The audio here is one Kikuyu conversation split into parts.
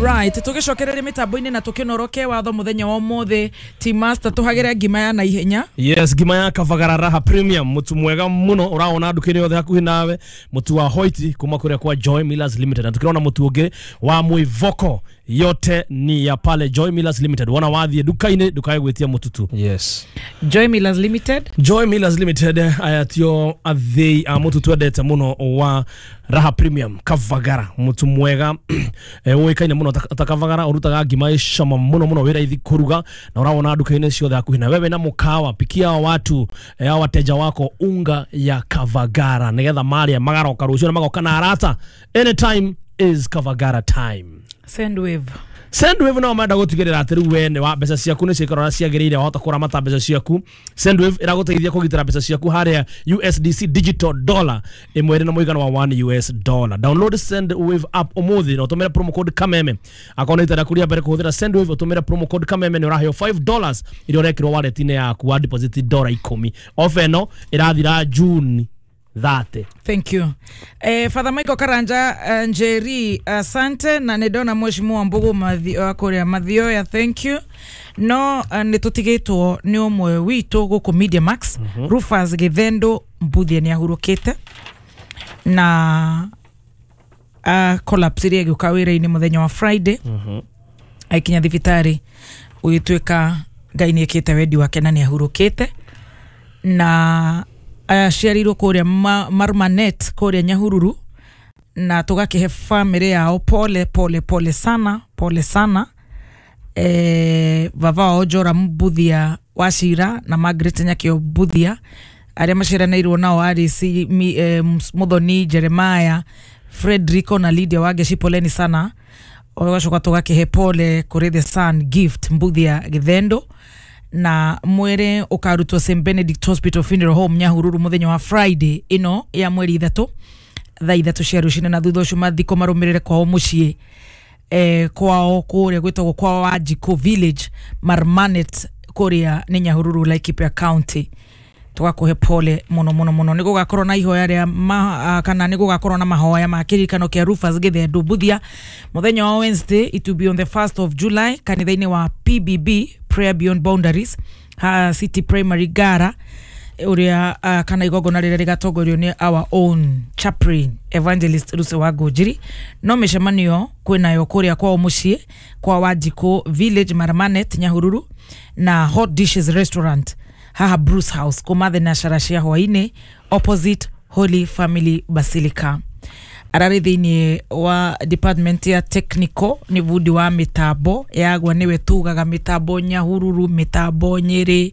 Right, tugicokereria mitambo-inĩ na tukinoroke watho muthenya wa umuthi. Team Master, tuhagire ngima ya naihenya. Yes, ngima ya Kavagara Raha Premium, mutu mwega muno uraona nduka-inĩ yothe hakuhĩ nawe, mutu wa Hoiti kuma kuria kwa Joy Millers Limited, na tukirona mutu ũngĩ wa Mwivoko, yote ni ya pale Joy Millers Limited. Wona wathiĩ nduka-inĩ ndukae gwĩtia mututu. Yes. Joy Millers Limited. Joy Millers Limited, aya tio athĩi a mutu twendete muno wa Raha Premium Kavagara, mutu mwega ũĩkaine muno ta Kavagara, ũrutaga ngima ĩ cama muno muno, wĩ raithi kũruga na ũrawona nduka-inĩ ciothe hakuhĩ na wewe na mũkawa. Pikia watu wateja wako unga ya Kavagara nigetha marĩa magaroka rũciũ na magoka na arata. Anytime is Kavagara time. Sendwave. Sendwave no menda gũtigĩrĩra atĩ rĩu we nĩ wa mbeca ciaku nĩ ciikara ũrĩa ciagĩrĩire, wahota kũramata mbeca ciaku. Sendwave ĩragũteithia kũgitĩra mbeca ciaku harĩa USDC digital dollar ĩmwe ĩrĩ na mũigana wa 1 US dollar. Download Sendwave app ũmũthĩ na ũtũmĩre promo code Kameme. Akorwo nĩ rita rĩaku rĩa mbere kũhũthĩra Sendwave, ũtũmĩre promo code Kameme nĩ ũraheo $5 iria ũrekĩrwo wallet-inĩ yaku wa deposit $10. Offer ĩno ĩrathira June 30. Thank you. Father Michael Karanja Njeri, asante, na nĩndona mheshimiwa Mbugu kuria Mathioya, thank you. No nĩ tũtigĩtwo nĩ ũmwe witũ gũkũ Media Max, Rufus Githendo Mbuthia nĩ ahurũkĩte na collapse iria ĩgĩũka wĩra-inĩ mũthenya wa Friday. Aikinya thibitarĩ gũgĩtuĩka Ngai nĩ ĩkĩte wendi wake na nĩ ahurũkĩte, na aciarirwo kũrĩa Marmanet kũrĩa Nyahururu, na tũgakĩhe family yao pole pole pole sana, pole sana. Baba wao Jora Mbuthia Wacira na Margaret Nyakio Mbuthia arĩa maciaranĩirwo nao Alice Muthoni, Jeremiah, Frederico na Lydia Wangeci, poleni sana. Ũgacoka tũgakĩhe pole kũrĩ the son Gift Mbuthia Githendo, na mwĩrĩ ũkarutwo St Benedict Hospital Funeral Home Nyahururu mũthenya wa Friday ĩno ya mweri 3 thaa 3 cia rũcinĩ, na thutha ũcio mathiko marũmĩrĩre kwao mũciĩ, kwao kũrĩa gwĩtagwo kwa Wanjikũ Village Marmanet kũrĩa nĩ Nyahururu, Laikipia County. Tũgakũhe pole mũno mũno mũno. Nĩ gũgakorwo na ihoya rĩa kana nĩ gũgakorwo na mahoya ma kĩririkano kĩa Rufus Githendo Mbuthia mũthenya wa Wednesday, it will be on the 1st of July, kanitha-inĩ wa PBB, Prayer Beyond Boundaries, ha City Primary Gara uria, kana igongona rĩrĩa rĩgatongorio nĩ our own chaplain Evangelist Lucy wa Ngũnjiri. No mĩcemanio kwĩnayo kũrĩa kwao mũciĩ kwa Wanjikũ Village Marmanet Nyahururu, na Hot Dishes Restaurant haha Bruce House kuma thenashara cia hwainĩ opposite Holy Family Basilica. Ararĩ thĩinĩ wa department ya technical, nĩ bundi wa mĩtambo yagwa, nĩwe tugaga mĩtambo Nyahururu, mĩtambo Nyĩrĩ,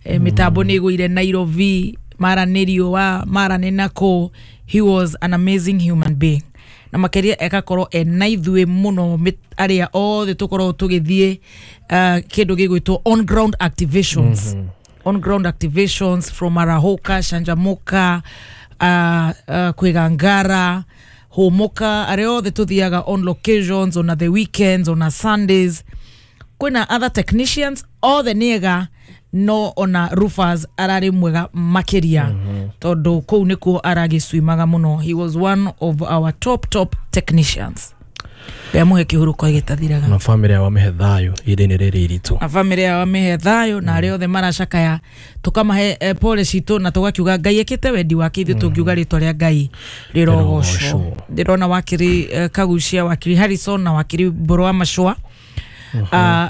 mĩtambo nĩ ĩgũire Nairobi, mara nĩ riũa, mara nĩ nakũ. He was an amazing human being, na makĩria ekakorwo ena ithuĩ mũno arĩa othe tũkoragwo tũgĩthiĩ kĩndũ gĩgwĩtwo on ground activations. On ground activations from Arahoka, Shanjamuka, Kwigangara, Homoka, arĩa othe tũthiaga on locations on the weekends, on Sundays. Kwĩna other technicians othe nĩega, no ona Rufus ararĩ mwega makĩria, tondũ kũu nĩkuo aragĩcuimaga mũno. He was one of our top top technicians. Ngamũhe kĩhurũko gĩtathiraga. Na family yao amĩhe thayũ ihinda-inĩ rĩrĩ iritũ. Na family yao amĩhe thayũ, na arĩa othe maracakaya tũkamahe pole citũ, na tũgakiuga Ngai ekĩte wendi wake, ithuĩ tũngiuga rĩtwa rĩa Ngai rĩrogocwo. Ndĩrona wakiri Kagucia, wakiri Harrison na wakiri Mbũrũ wa Macũa.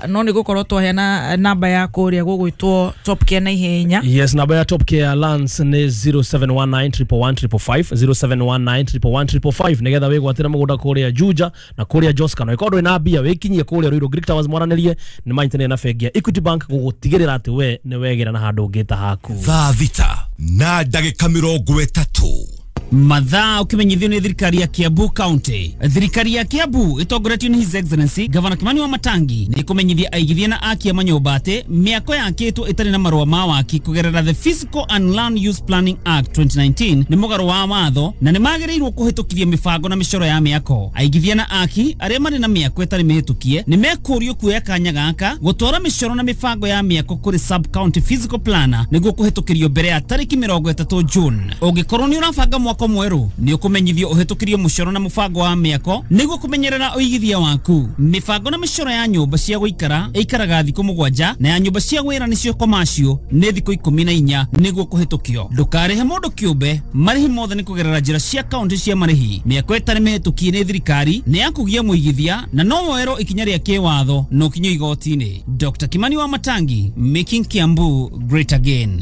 No nĩ gũkorwo twaheana namba ya kũrĩa gũgwĩtwo Top Care na ihenya. Yes, namba ya Top Care Lands nĩ 0719 111 555, 0719 111 555, nĩgetha wĩgwatĩre mũgũnda kũrĩa Juja na kũrĩa Joska, na ĩkorwo ndũrĩ na mbia wĩkinyie kũrĩa Ruiru Greek Towers mwaranĩrie nĩ manyitanĩire na bengi ya Equity Bank gũgũtigĩrĩra atĩ we nĩ wegĩra na handũ ũngĩ ta haku. Thaa 6:30. Mathaa ukimenyithio nĩ thirikari ya Kiambu County. Thirikari ya Kiambu itongoretio nĩ His Excellency Governor Kimani wa Matangi nĩ kũmenyithia aigithia na aki a manyũmba atĩ mĩako yakĩtwo ĩtarĩ na marũa ma waki kũgerera the Physical and Land Use Planning Act 2019 nĩ mũgarũ wa watho na nĩ magĩrĩirwo kũhĩtũkithia mĩbango na mĩcoro ya mĩako. Aigithia na aki arĩa marĩ na mĩako ĩtarĩ mĩhĩtũkie nĩ mekũrio kuoya kanya gaka gũtwara mĩcoro na mĩbango ya mĩako kũrĩ sub county physical planner nĩguo kũhĩtũkĩrio mbere ya tarĩki 30 June. Ũngĩkorwo nĩ ũrabanga mwako Mwako mwerũ nĩ ũkũmenyithio ũhĩtũkĩrio mũcoro na mũbango wa mĩako nĩguo kũmenyerera ũigithia waku. Mĩbango na mĩcoro ya nyũmba cia gũikara ĩikaraga thikũ 7 na ya nyũmba cia wĩra nĩcio commercial nĩ thikũ 14 nĩguo kũhĩtũkio. Ndũkarĩhe mũndũ kĩũmbe, marĩhi mothe nĩ kũgerera njĩra cia kaunti cia marĩhi. Mĩako ĩtarĩ mĩhĩtũkie nĩ thirikari nĩ ya kũgia mũigithia na no woerwo ikinya rĩa kĩwatho na ũkinyio igoti-inĩ. Dr. Kimani wa Matangi, making Kiambu great again.